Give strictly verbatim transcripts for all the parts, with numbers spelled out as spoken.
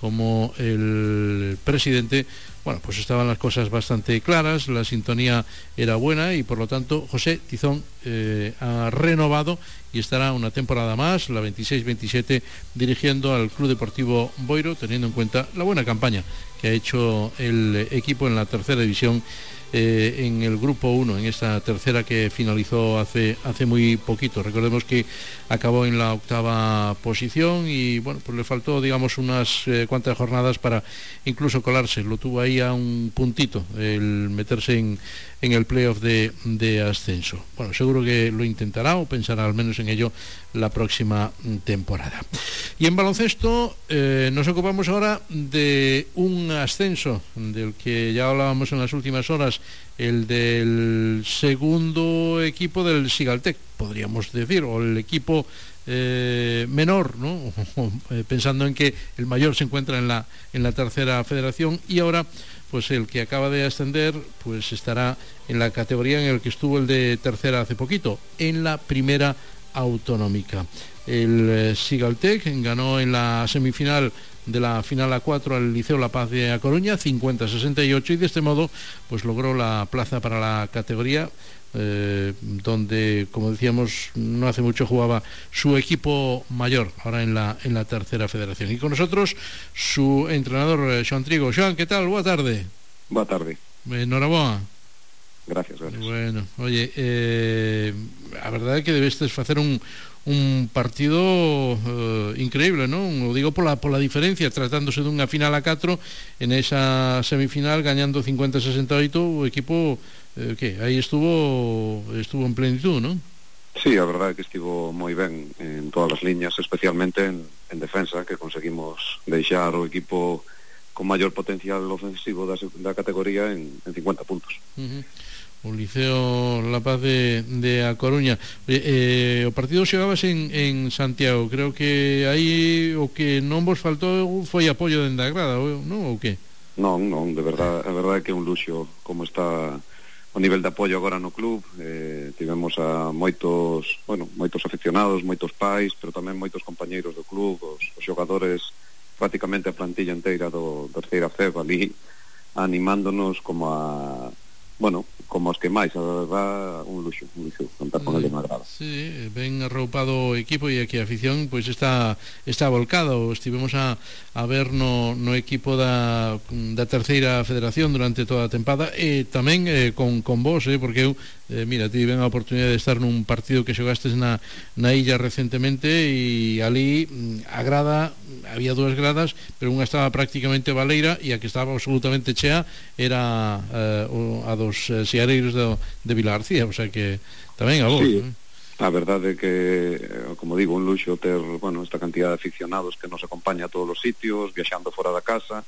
como el presidente, bueno, pues estaban las cosas bastante claras, la sintonía era buena y por lo tanto José Tizón eh, ha renovado y estará una temporada más, la veintiséis veintisiete, dirigiendo al Club Deportivo Boiro, teniendo en cuenta la buena campaña que ha hecho el equipo en la tercera división, eh, en el grupo uno, en esta tercera que finalizó hace, hace muy poquito. Recordemos que acabó en la octava posición y bueno, pues le faltó, digamos, unas eh, cuantas jornadas para incluso colarse. Lo tuvo ahí a un puntito el meterse en, en el playoff de, de ascenso. Bueno, seguro que lo intentará o pensará al menos en ello la próxima temporada. Y en baloncesto eh, nos ocupamos ahora de un ascenso del que ya hablábamos en las últimas horas, el del segundo equipo del Sigaltec, podríamos decir, o el equipo eh, menor, ¿no? Pensando en que el mayor se encuentra en la, en la tercera federación, y ahora pues el que acaba de ascender pues estará en la categoría en el que estuvo el de tercera hace poquito, en la primera autonómica. El eh, Sigaltec ganó en la semifinal de la final A cuatro al Liceo La Paz de A Coruña, cincuenta a sesenta y ocho, y de este modo pues logró la plaza para la categoría, eh, donde, como decíamos, no hace mucho jugaba su equipo mayor, ahora en la, en la tercera federación. Y con nosotros su entrenador, Xoán Trigo. Xoán, ¿qué tal? Boa tarde. Boa tarde. Enhoraboa. Gracias, gracias. Bueno, oye, eh, a verdade é que debestes facer un, un partido eh, increíble, non? O digo pola, pola diferencia, tratándose dunha final a catro, en esa semifinal gañando cincuenta a sesenta e oito, o equipo eh, que aí estuvo estuvo en plenitud, non? Sí, a verdade é que estivo moi ben en todas as liñas, especialmente en, en defensa, que conseguimos deixar o equipo con maior potencial ofensivo da, da categoría en, en cincuenta puntos. Uh-huh. O Liceo La Paz de, de A Coruña. Eh, eh, o partido xogabas en, en Santiago. Creo que aí o que non vos faltou foi apoio dende a grada, non? Ou que? Non, non, de verdade, a verdade é que é un luxo como está o nivel de apoio agora no club. Eh, tivemos a moitos, bueno, moitos aficionados, moitos pais, pero tamén moitos compañeiros do club, os, os xogadores, prácticamente a plantilla inteira do terceira F E B ali animándonos como a, bueno, como os que máis, a verdade, un luxo, un luxo contar con ele na grada. Sí, ben arroupado o equipo e aquí a afición pois pues, está está volcado. Estivemos a, a ver no, no equipo da, da terceira federación durante toda a tempada e tamén eh, con, con vos, eh, porque eu eh, mira, tive a oportunidade de estar nun partido que xogastes na, na illa recentemente e ali a grada, había dúas gradas, pero unha estaba prácticamente baleira e a que estaba absolutamente chea era eh, a dos eh, seareiros de, de Vila García, o sea que tamén a vos, sí, ¿no? A verdade é que, como digo, un luxo ter, bueno, esta cantidad de aficionados que nos acompaña a todos os sitios, viaxando fora da casa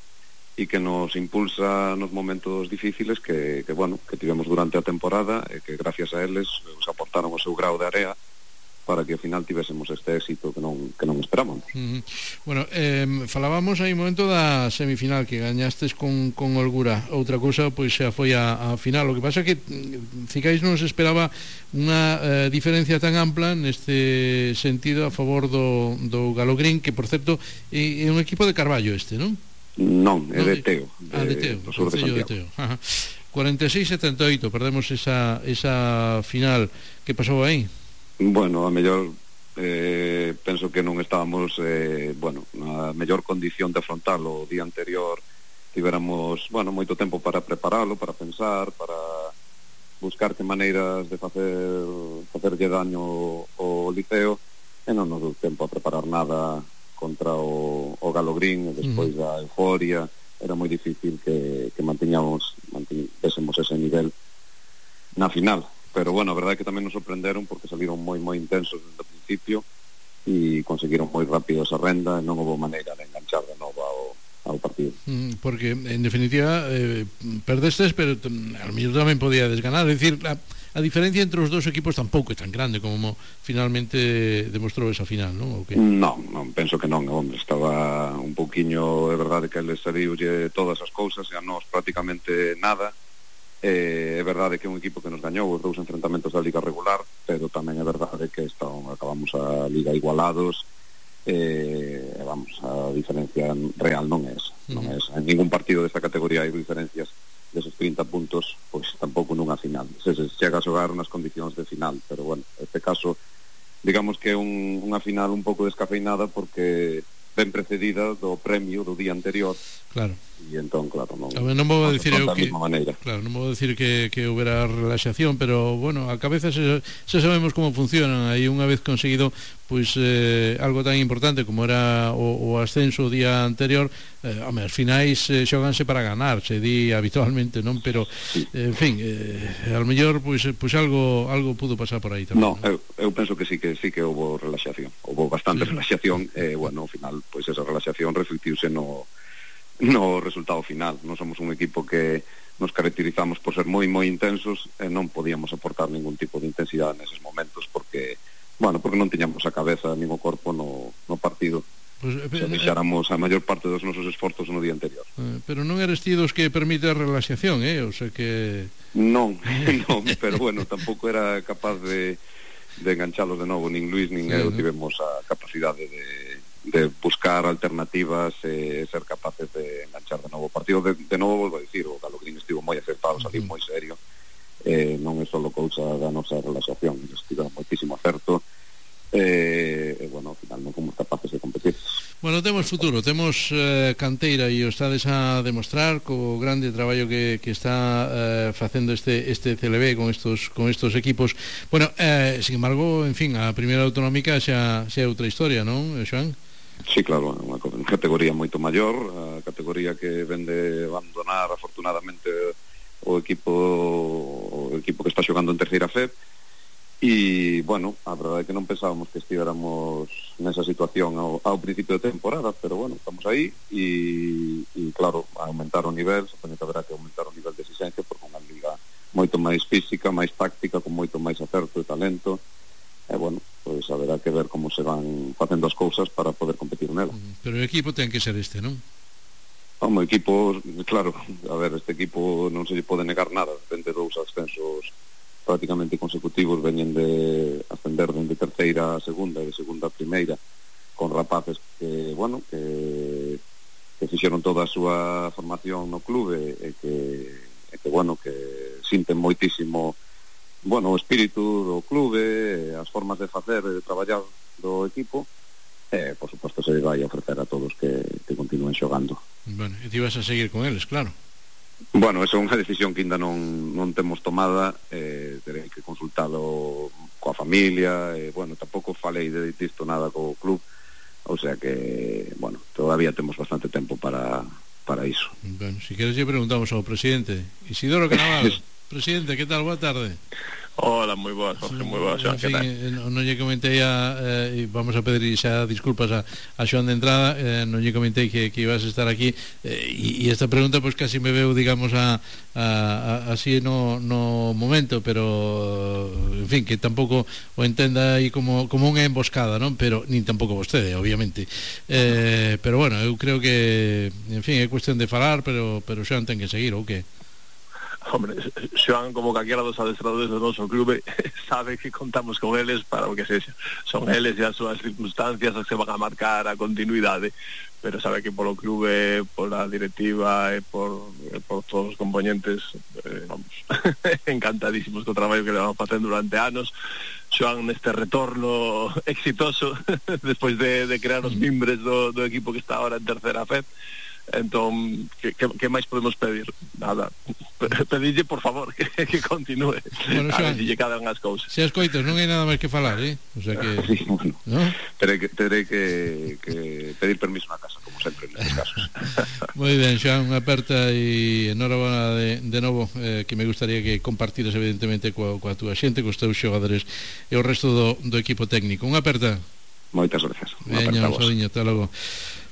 e que nos impulsa nos momentos difíciles que, que, bueno, que tivemos durante a temporada e que gracias a eles os aportaron o seu grau de area para que ao final tivésemos este éxito que non, que non esperábamos. Uh-huh. Bueno, eh, falábamos aí un momento da semifinal que gañastes con, con holgura. Outra cousa, pois xa foi a, a final. O que pasa é que Cicais non se esperaba unha eh, diferencia tan ampla neste sentido a favor do, do Galogrín, que, por certo, é, é un equipo de Carballo este, non? Non, é de Teo, de, ah, de Teo, do sur de Santiago. De Teo. Ajá. cuarenta e seis a setenta e oito, perdemos esa, esa final. Que pasou aí? Bueno, a mellor eh, penso que non estábamos eh, bueno, na mellor condición de afrontalo. O día anterior tivéramos, bueno, moito tempo para preparalo, para pensar, para buscar que maneiras de facer facerlle daño ao Liceo, e non nos deu tempo a preparar nada contra o, o Galogrín, e despois uh-huh. da euforia era moi difícil que, que mantiñamos mantiñésemos ese nivel na final. Pero bueno, a verdade é que tamén nos sorprenderon porque saliron moi moi intensos desde o principio e conseguiron moi rápido esa renda e non houve maneira de enganchar de novo ao, ao partido. Mm, porque, en definitiva, eh, perdestes, pero al mellor tamén podía desganar. É dicir, a, a diferencia entre os dous equipos tampouco é tan grande como finalmente demostrou esa final, non? Okay. Non, non, penso que non, hombre, estaba un pouquiño, é verdade que eles saliulle todas as cousas e a nós prácticamente nada. Eh, é verdade que é un equipo que nos gañou os dous enfrentamentos da liga regular, pero tamén é verdade que están, acabamos a liga igualados eh, vamos, a diferencia real non é esa, non é esa. En ningún partido desta categoría hai diferencias deses trinta puntos, pois tampouco nunha final. Se, se chega a xogar nas condicións de final, pero bueno, este caso digamos que é un, unha final un pouco descafeinada porque ben precedida do premio do día anterior. Claro. E entón, claro, non, non vou dicir eu que claro, non vou dicir que, que houbera relaxación, pero bueno, a cabeza se, se sabemos como funcionan. Aí unha vez conseguido pois eh, algo tan importante como era o, o ascenso o día anterior, eh, home, as finais eh, xoganse para ganar, se di habitualmente, non? Pero sí. eh, en fin, eh, ao mellor pois, pois algo algo pudo pasar por aí tamén. No, eu, eu penso que sí que sí que houve relaxación, houve bastante sí. relaxación, e eh, bueno, ao final pois esa relaxación reflectiuse no no resultado final. Non somos un equipo que nos caracterizamos por ser moi moi intensos e non podíamos aportar ningún tipo de intensidade neses momentos porque, bueno, porque non tiñamos a cabeza nin o corpo no, no partido. Pues, eh, se deixáramos a maior parte dos nosos esforzos no día anterior. Eh, pero non eres ti dos que permite a relaxación, eh? O sea que... Non, non, pero bueno, tampouco era capaz de, de enganchalos de novo, nin Luis nin sí, eu ¿no? tivemos a capacidade de de buscar alternativas e eh, ser capaces de enganchar de novo o partido. De, de novo, volvo a dicir, o Galo Green estivo moi acertado, saliu uh -huh. moi serio, eh, non é só cousa da nosa relaxación, estiveron moitísimo acerto, e, eh, bueno, ao final non fomos capaces de competir. Bueno, temos futuro, temos eh, canteira e o estades a demostrar co grande traballo que, que está eh, facendo este este C L B con estos con estos equipos. Bueno, eh, sin embargo, en fin, a primeira autonómica xa, xa é outra historia, non, Xoán? Sí, claro, unha categoría moito maior, a categoría que vende abandonar afortunadamente o equipo o equipo que está xogando en terceira F E B, e, bueno, a verdade é que non pensábamos que estivéramos nesa situación ao, ao principio de temporada, pero, bueno, estamos aí, e, e claro, a aumentar o nivel, supoño que haberá que aumentar o nivel de exigencia, porque unha liga moito máis física, máis táctica, con moito máis acerto e talento, e, bueno, pois haberá que ver como se van facendo as cousas para poder competir nela. Pero o equipo ten que ser este, non? Como equipo, claro, a ver, este equipo non se lle pode negar nada, vende dous ascensos prácticamente consecutivos, veñen de ascender dende terceira a segunda e de segunda a primeira, con rapaces que, bueno, que, que fixeron toda a súa formación no clube e que, e que bueno, que sinten moitísimo, bueno, o espírito do clube, as formas de facer e de traballar do equipo, e, por suposto, se vai a ofrecer a todos que, que continúen xogando. Bueno, e ti vas a seguir con eles, claro. Bueno, esa é unha decisión que ainda non, non temos tomada, eh, terei que consultalo coa familia, e, bueno, tampouco falei de disto nada co club, o sea que, bueno, todavía temos bastante tempo para, para iso. Bueno, si queres lle preguntamos ao presidente Isidoro Canaval. Presidente, que tal? Boa tarde. Hola, moi boas, Jorge, moi boas, Xoán, que tal? Non lle comentei a, eh, vamos a pedir xa disculpas a, a Xoán de entrada, eh, non lle comentei que, que ibas a estar aquí, eh, e, e esta pregunta pois pues, casi me veu, digamos, a, a, a, así no, no momento, pero en fin, que tampouco o entenda aí como, como unha emboscada, non? Pero, nin tampouco vostede, obviamente, eh, pero bueno, eu creo que, en fin, é cuestión de falar, pero, pero Xoán ten que seguir, ou que? Hombre, Xoán, como calquera dos adestradores do noso clube, sabe que contamos con eles para o que sexa. Son eles e as súas circunstancias as que van a marcar a continuidade, pero sabe que polo clube, pola directiva e por, e por todos os componentes, eh, vamos, encantadísimos co traballo que le vamos facendo durante anos. Xoán, neste retorno exitoso despois de, de crear os mimbres do, do equipo que está ahora en terceira F E B, entón, que, que, que máis podemos pedir? Nada, pedille por favor que, que continúe, bueno, a ver se lle cadan as cousas. Se as coitas, non hai nada máis que falar, eh? O sea que... Sí, bueno, ¿no? Terei que, terei que, que pedir permiso na casa, como sempre nestes casos. Moi ben, Xoán, unha aperta e enhorabuena de, de novo, eh, que me gustaría que compartiras evidentemente coa, coa túa xente, cos teus xogadores e o resto do, do equipo técnico. Unha aperta. Moitas gracias. Veña, un saúdiño, hasta logo.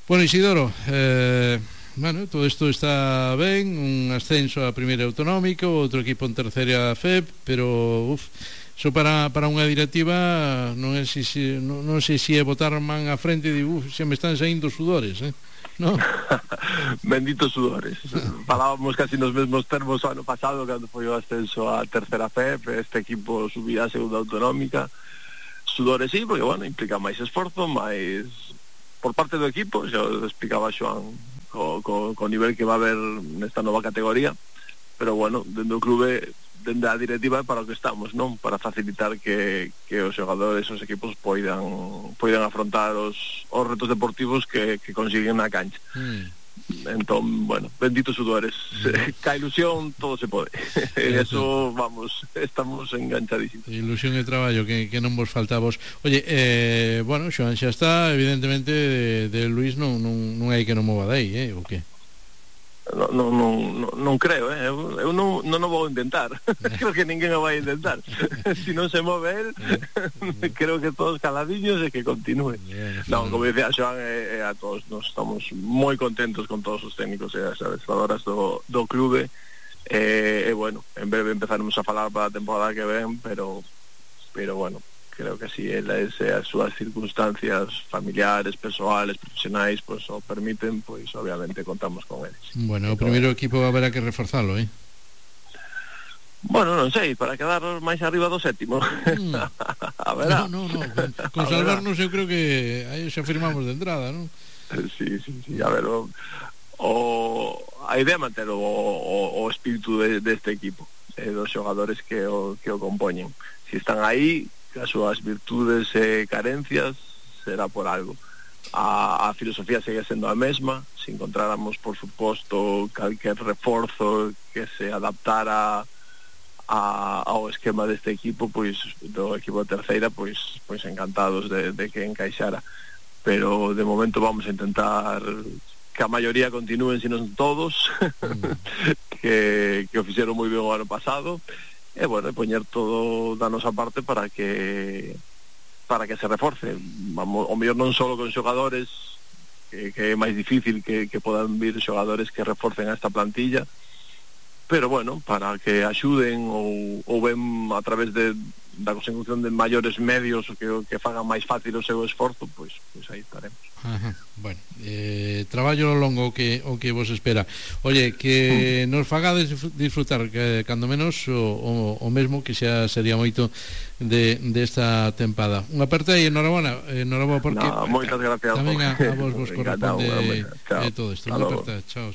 Bueno, Isidoro, eh, bueno, todo isto está ben, un ascenso a primeira autonómica, outro equipo en terceira F E B, pero uf, so para, para unha directiva non é si, si, non, non sei se é botar man a frente e di, uf, se me están saindo sudores, eh? No? Benditos sudores. Falábamos casi nos mesmos termos o ano pasado cando foi o ascenso a terceira F E B, este equipo subía a segunda autonómica. Sudores sí, porque, bueno, implica máis esforzo, máis por parte do equipo, xa o explicaba Xoan co, co, co nivel que va a haber nesta nova categoría, pero bueno, dentro do clube, dende a directiva é para o que estamos, non? Para facilitar que, que os xogadores, os equipos poidan poidan afrontar os, os retos deportivos que, que consiguen na cancha. Mm. Entón, bueno, benditos sudores, mm. ca ilusión todo se pode. Eso, vamos, estamos enganchadísimos. Ilusión e traballo que, que non vos faltavos. Oye, eh, bueno, Xoan xa está, evidentemente de, de Luís non, non, non hai que non mova dai, eh, o que? No, no, no, no, non creo, eh? eu, eu non, non o vou intentar. Creo que ninguén o vai intentar. Si non se move el, creo que todos caladiños e que continúe. Non, como dicía Xoan, eh, eh, a todos nos estamos moi contentos con todos os técnicos e as adestradoras do, do clube, e eh, eh, bueno, en breve empezaremos a falar para a temporada que ven, pero pero bueno, creo que si elas e as súas circunstancias familiares, persoales, profesionais, pois pues, o permiten, pois pues, obviamente contamos con eles. Bueno, o primeiro equipo haberá que reforzalo, eh? Bueno, non sei, para quedar máis arriba do sétimo. Mm. A ver. No, no, no, con, con salvarnos eu creo que aí xa firmamos de entrada, non? Sí, sí, sí, a ver, o, o a idea é manter o, o, o espírito de, deste equipo, e dos xogadores que o, que o compoñen. Si están aí, as súas virtudes e carencias será por algo. A, a filosofía segue sendo a mesma. Se encontráramos, por suposto, calquer reforzo que se adaptara a, ao esquema deste equipo, pois do equipo de terceira, pois pois encantados de, de que encaixara, pero de momento vamos a intentar que a maioría continúen, se non todos, mm. que, que o fixeron moi ben o ano pasado. E, bueno, poñer todo da nosa parte para que para que se reforce. Vamos, o mellor non só con xogadores, que, que é máis difícil que, que podan vir xogadores que reforcen a esta plantilla, pero, bueno, para que axuden ou, ou ben a través de da consecución de maiores medios que, que fagan máis fácil o seu esforzo, pois, pois aí estaremos. Ajá. Bueno, eh, traballo longo que o que vos espera. Oye, que mm. nos fagades disfrutar que cando menos o, o, o mesmo, que xa sería moito de desta de tempada. Unha aperta e enhorabuena, enhorabuena porque no, moitas gracias. Tamén a, a vos vos corresponde eh, todo isto. Unha aperta, chao.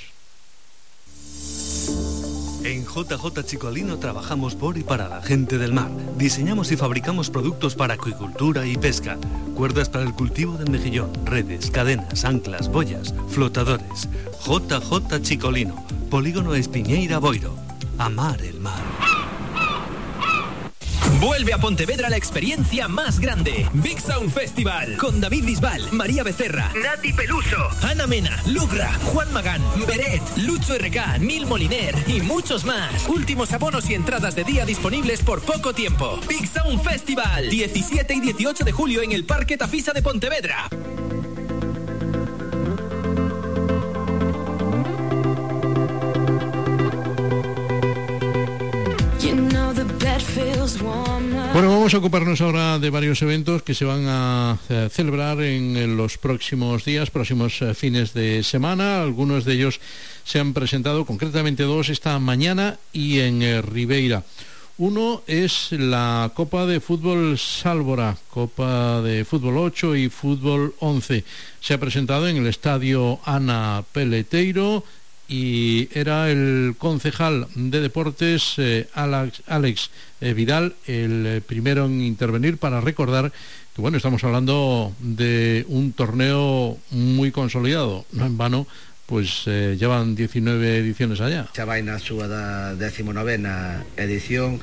En J J Chicolino trabajamos por y para la gente del mar. Diseñamos y fabricamos productos para acuicultura y pesca. Cuerdas para el cultivo del mejillón, redes, cadenas, anclas, boyas, flotadores. J J Chicolino, Polígono Espiñeira Boiro. Amar el mar. Vuelve a Pontevedra la experiencia más grande. Big Sound Festival. Con David Bisbal, María Becerra, Nati Peluso, Ana Mena, Lugra, Juan Magán, Beret, Lucho R K, Nil Moliner y muchos más. Últimos abonos y entradas de día disponibles por poco tiempo. Big Sound Festival. diecisiete y dieciocho de julio en el Parque Tafisa de Pontevedra. Bueno, vamos a ocuparnos ahora de varios eventos que se van a eh, celebrar en, en los próximos días, próximos eh, fines de semana. Algunos de ellos se han presentado, concretamente dos, esta mañana y en eh, Ribeira. Uno es la Copa de Fútbol Sálvora, Copa de Fútbol ocho y Fútbol once. Se ha presentado en el Estadio Ana Peleteiro y era el concejal de deportes eh, Alex, Alex eh, Vidal el eh, primero en intervenir para recordar que, bueno, estamos hablando de un torneo muy consolidado, no en vano, pues eh, llevan diecinueve ediciones allá. Xa vai na súa da decimonovena edición,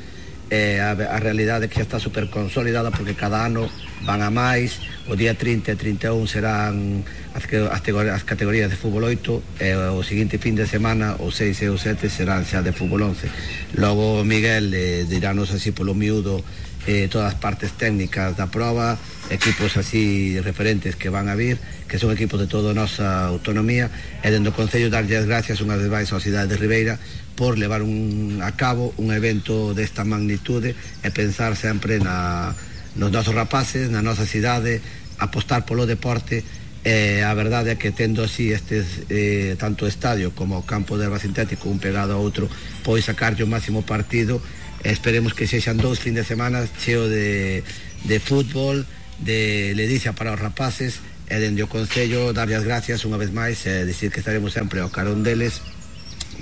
eh, a, a realidade é que xa está super consolidada porque cada ano van a máis. O día trinta e trinta e un serán as, as categorías de fútbol oito e o seguinte fin de semana o seis e o sete serán xa de fútbol once. Logo Miguel eh, dirános así polo miúdo eh, todas as partes técnicas da prova, equipos así referentes que van a vir, que son equipos de toda a nosa autonomía, e dentro do Concello darlle as gracias unha vez máis á cidade de Ribeira por levar un, a cabo un evento desta magnitude e pensar sempre na nos nosos rapaces, na nosa cidade, apostar polo deporte. E a verdade é que tendo así estes eh, tanto o estadio como o campo de erva sintético un pegado a outro, pois sacarlle o máximo partido. Esperemos que sexan dous fin de semana cheo de, de fútbol, de ledicia para os rapaces e dende o Concello darlle as gracias unha vez máis e dicir que estaremos sempre ao carón deles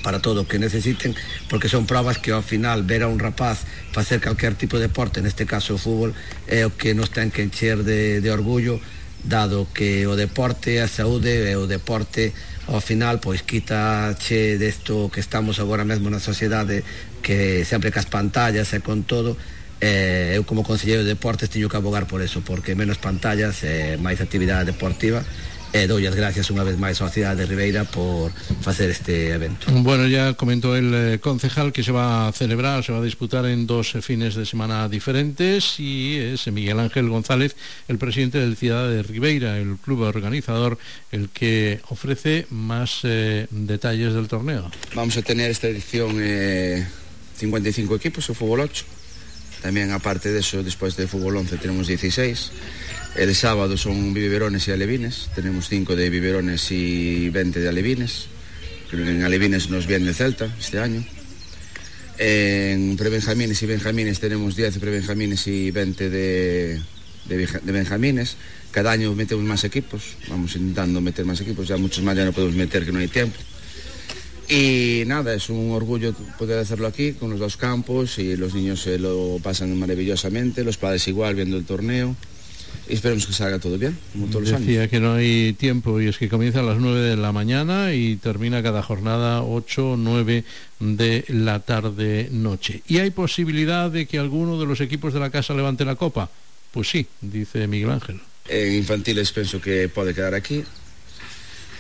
para todo o que necesiten, porque son probas que ao final ver a un rapaz facer calquer tipo de deporte, neste caso o fútbol, é o que nos ten que encher de, de orgullo, dado que o deporte, a saúde e o deporte ao final pois quitache desto que estamos agora mesmo na sociedade, que sempre cas pantallas e con todo. Eh, eu como conselleiro de deportes teño que abogar por eso, porque menos pantallas e eh, máis actividade deportiva. E doy as gracias unha vez máis á cidade de Ribeira por facer este evento. Bueno, ya comentó el eh, concejal que se va a celebrar, se va a disputar en dos eh, fines de semana diferentes, y es Miguel Ángel González, el presidente del Ciudad de Ribeira, el club organizador, el que ofrece más eh, detalles del torneo. Vamos a tener esta edición eh, cincuenta y cinco equipos, o fútbol ocho. También, aparte de eso, después del fútbol once tenemos dieciséis. El sábado son biberones y alevines. Tenemos cinco de biberones y veinte de alevines. Creo que en alevines nos viene el Celta este año. En prebenjamines y benjamines tenemos diez prebenjamines y veinte de, de, de benjamines. Cada año metemos más equipos. Vamos intentando meter más equipos. Ya muchos más ya no podemos meter, que no hay tiempo. Y nada, es un orgullo poder hacerlo aquí con los dos campos, y los niños se lo pasan maravillosamente, los padres igual viendo el torneo, y esperemos que salga todo bien, como todos los años. Decía que no hay tiempo, y es que comienza a las nueve de la mañana y termina cada jornada ocho o nueve de la tarde noche. ¿Y hay posibilidad de que alguno de los equipos de la casa levante la copa? Pues sí, dice Miguel Ángel. En infantiles pienso que puede quedar aquí.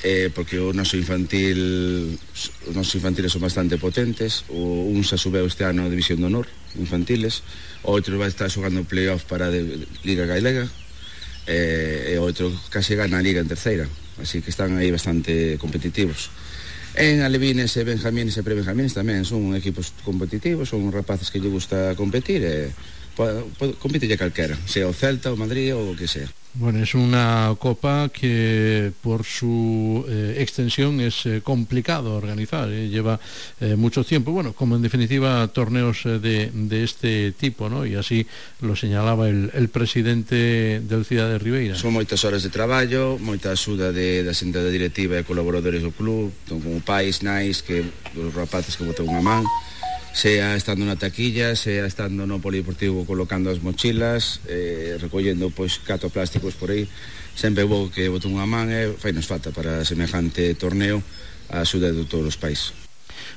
Eh, porque o noso infantil os nosos infantiles son bastante potentes. O un xa subeu este ano a División de Honor infantiles, o outro vai estar xogando playoff para de, de Liga Galega, eh, e o outro case gana a Liga en terceira, así que están aí bastante competitivos. En alevines e benjamines e prebenjamines tamén son equipos competitivos, son rapaces que lle gusta competir, e compite ya calquera, sea o Celta, o Madrid ou o que sea. Bueno, es una copa que por su eh, extensión es eh, complicado organizar, eh, lleva eh, mucho tiempo, bueno, como en definitiva torneos eh, de, de este tipo, ¿no? Y así lo señalaba el, el presidente del Ciudad de Ribeira. Son moitas horas de traballo, moita axuda de, da xente da directiva e colaboradores do club, como pais, nais, que os rapaces que botan unha man, sea estando na taquilla, sea estando no polideportivo colocando as mochilas, eh, recollendo pois catro plásticos por aí, sempre vou que boto unha man e fai nos falta para semejante torneo a axuda de todos os países.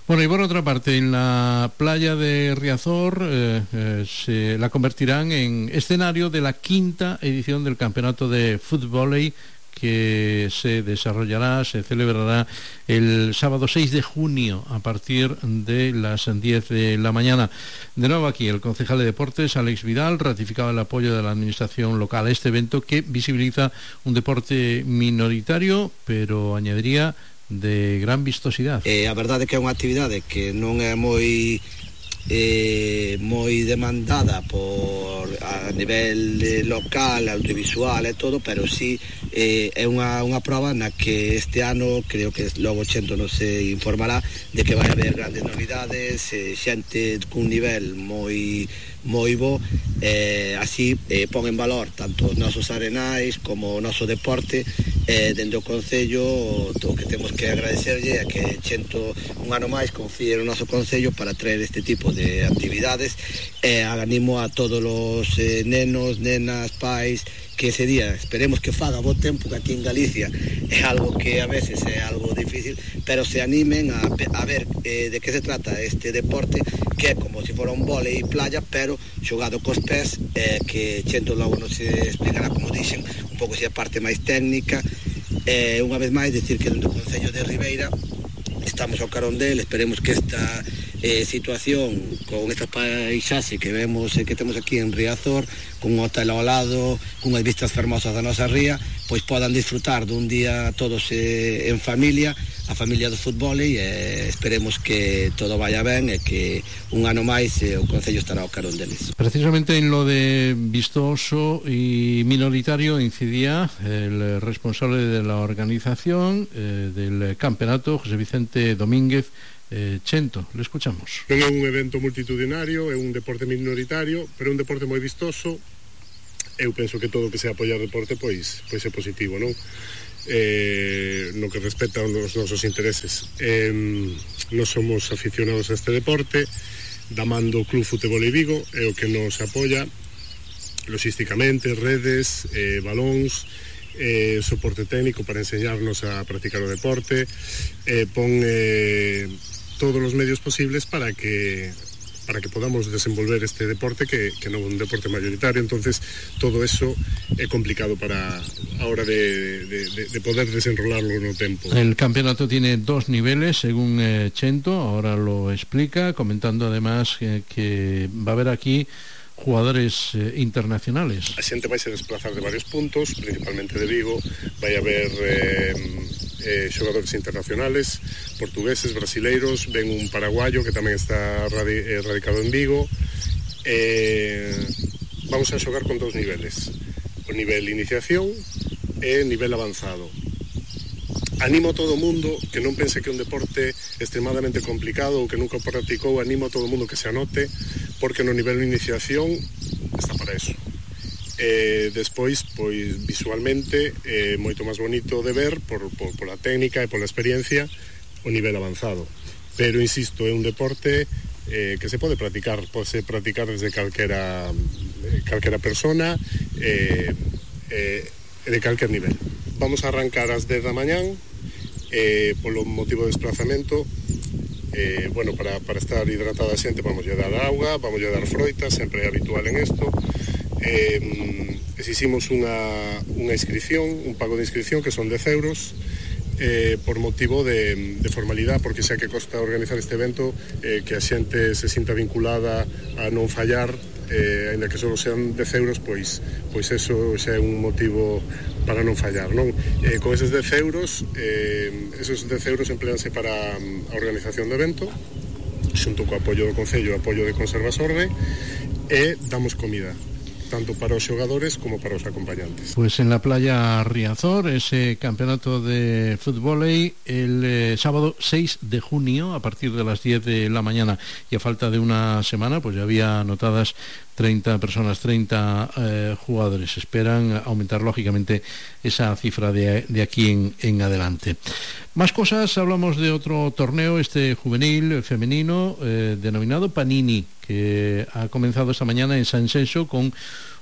Bueno, y por otra parte, en la playa de Riazor eh, eh, se la convertirán en escenario de la quinta edición del campeonato de fútbol que se desarrollará, se celebrará el sábado seis de junio a partir de las diez de la mañana. De nuevo aquí el concejal de Deportes, Alex Vidal, ratificaba el apoyo de la administración local a este evento que visibiliza un deporte minoritario, pero añadiría de gran vistosidad. Eh, a verdade é que é unha actividade que non é moi eh, moi demandada por a nivel eh, local, audiovisual e todo, pero sí eh, é unha, unha prova na que este ano creo que logo Chento non se informará de que vai haber grandes novidades, eh, xente cun nivel moi moi bo, eh, así eh, pon en valor tanto os nosos arenais como o noso deporte, eh, dende o Concello o que temos que agradecerlle é que Chento un ano máis confíe no noso Concello para traer este tipo de actividades, e eh, animo a todos os eh, nenos, nenas, pais, que ese día esperemos que faga bo tempo, que aquí en Galicia é algo que a veces é algo difícil, pero se animen a, a ver eh, de que se trata este deporte, que é como se fora un vólei playa, pero xogado cos pés, eh, que Chento logo nos explicará, como dixen, un pouco se a parte máis técnica. Eh, unha vez máis, decir que dentro do Concello de Ribeira estamos ao carón del, esperemos que esta eh, situación con esta paisaxe que vemos eh, que temos aquí en Riazor, con un hotel ao lado, con as vistas fermosas da nosa ría, pois podan disfrutar dun día todos eh, en familia, a familia do fútbol, e eh, esperemos que todo vaya ben e que un ano máis eh, o Concello estará ao carón deles. Precisamente en lo de vistoso y minoritario incidía el responsable de la organización eh, del campeonato, José Vicente Domínguez eh, Chento. Le escuchamos. Non é un evento multitudinario, é un deporte minoritario, pero é un deporte moi vistoso, eu penso que todo o que sea apoiar deporte pois, pois é positivo, non? Eh, no que respecta aos nosos intereses, eh, non somos aficionados a este deporte, da man do Club Fútbol e Vigo é o que nos apoia logísticamente, redes, eh, balóns, eh, soporte técnico para enseñarnos a practicar o deporte, eh, pon eh, todos os medios posibles para que para que podamos desenvolver este deporte que, que non é un deporte mayoritario. Entonces todo eso é complicado para a hora de, de, de, de poder desenrolarlo no tempo. El campeonato tiene dos niveles según eh, Chento, ahora lo explica, comentando además eh, que va a haber aquí jugadores eh, internacionales. A xente vai se desplazar de varios puntos, principalmente de Vigo. Vai haber eh, eh, xogadores internacionales, portugueses, brasileiros, ven un paraguayo que tamén está radi eh, radicado en Vigo. Eh, vamos a xogar con dos niveles, o nivel iniciación e nivel avanzado. Animo a todo o mundo que non pense que é un deporte extremadamente complicado ou que nunca practicou, animo a todo o mundo que se anote, porque no nivel de iniciación está para eso. Eh, despois, pois visualmente é eh, moito máis bonito de ver por, por, por a técnica e por a experiencia o nivel avanzado. Pero, insisto, é un deporte eh, que se pode practicar, pode practicar desde calquera, eh, calquera persona e eh, eh, de calquer nivel. Vamos a arrancar ás dez da mañán, eh, polo motivo de desplazamento. Eh, bueno, para, para estar hidratada a xente vamos a dar auga, vamos a dar froita, sempre é habitual en isto. Eh, exiximos unha, unha inscripción, un pago de inscripción que son dez euros, eh, por motivo de, de formalidade, porque xa que costa organizar este evento, eh, que a xente se sinta vinculada a non fallar, eh, ainda que só sean dez euros, pois, pois eso xa é un motivo para non fallar, non? Eh, con eses dez euros, eh, esos dez euros empleanse para a organización do evento, xunto co apoio do Concello e apoio de Conservasorde, e damos comida, tanto para os xogadores como para os acompañantes. Pues en la playa Riazor, ese campeonato de fútbol el eh, sábado seis de junio a partir de las diez de la mañana, y a falta de una semana pues ya había anotadas treinta personas, treinta eh, jugadores. Esperan aumentar lógicamente esa cifra de, de aquí en, en adelante. Más cosas, hablamos de otro torneo, este juvenil femenino eh, denominado Panini, que ha comenzado esta mañana en San Senso con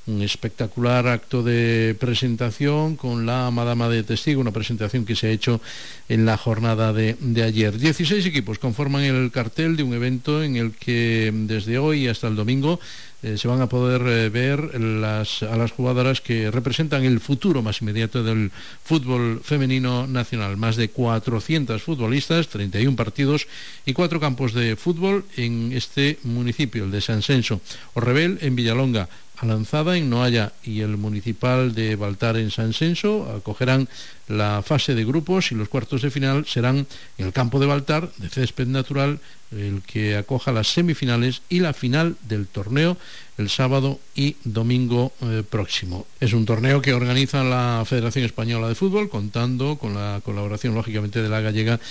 un espectacular acto de presentación con la Madama de Testigo, una presentación que se ha hecho en la jornada de, de ayer. dieciséis equipos conforman el cartel de un evento en el que desde hoy hasta el domingo eh, se van a poder eh, ver las, a las jugadoras que representan el futuro más inmediato del fútbol femenino nacional. Más de cuatrocientos futbolistas, treinta y un partidos y cuatro campos de fútbol en este municipio, el de San Senso. Orrebel en Villalonga, Alanzada en Noalla y el municipal de Baltar en San Senso acogerán la fase de grupos, y los cuartos de final serán en el campo de Baltar de césped natural, el que acoja las semifinales y la final del torneo el sábado y domingo eh, próximo. Es un torneo que organiza la Federación Española de Fútbol, contando con la colaboración lógicamente de la gallega,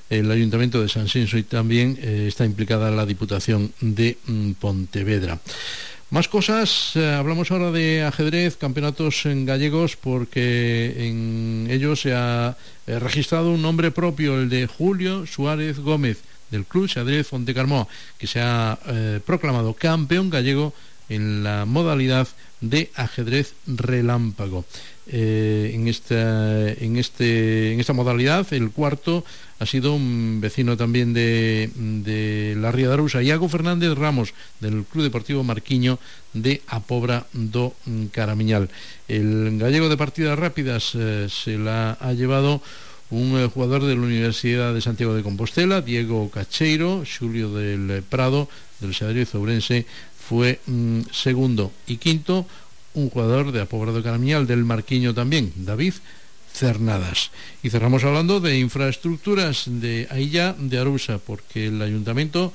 el Ayuntamiento de San Senso, y también eh, está implicada la Diputación de mm, Pontevedra. Más cosas, eh, hablamos ahora de ajedrez, campeonatos en gallegos, porque en ellos se ha eh, registrado un nombre propio, el de Julio Suárez Gómez, del Club Xadrez Fontecarmó, que se ha eh, proclamado campeón gallego en la modalidad de ajedrez relámpago. Eh, en esta en este en esta modalidad el cuarto ha sido un vecino también de, de la Ría de Arousa, Iago Fernández Ramos, del Club Deportivo Marquiño de A Pobra do Caramiñal. El gallego de partidas rápidas eh, se la ha llevado un eh, jugador de la Universidad de Santiago de Compostela, Diego Cacheiro. Xulio del Prado, del Xadrez Ourense, fue mm, segundo, y quinto un jugador de A Pobra do Caramiñal, del Marquiño también, David Cernadas. Y cerramos hablando de infraestructuras de Ailla de Arousa, porque el Ayuntamiento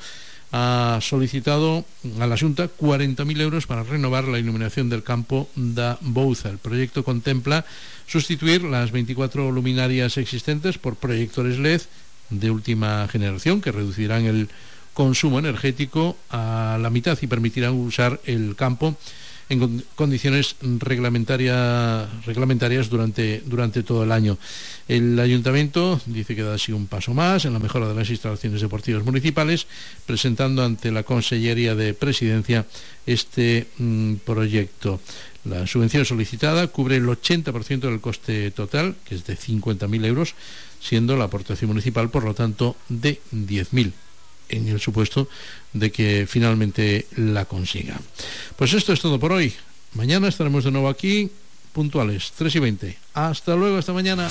ha solicitado a la Xunta cuarenta mil euros para renovar la iluminación del campo da Bouza. El proyecto contempla sustituir las veinticuatro luminarias existentes por proyectores L E D de última generación, que reducirán el consumo energético a la mitad y permitirán usar el campo en condiciones reglamentaria, reglamentarias durante, durante todo el año. El Ayuntamiento dice que da así un paso más en la mejora de las instalaciones deportivas municipales, presentando ante la Consellería de Presidencia este mmm, proyecto. La subvención solicitada cubre el ochenta por ciento del coste total, que es de cincuenta mil euros, siendo la aportación municipal, por lo tanto, de diez mil, en el supuesto de que finalmente la consiga. Pues esto es todo por hoy. Mañana estaremos de nuevo aquí, puntuales, tres y veinte. Hasta luego, hasta mañana.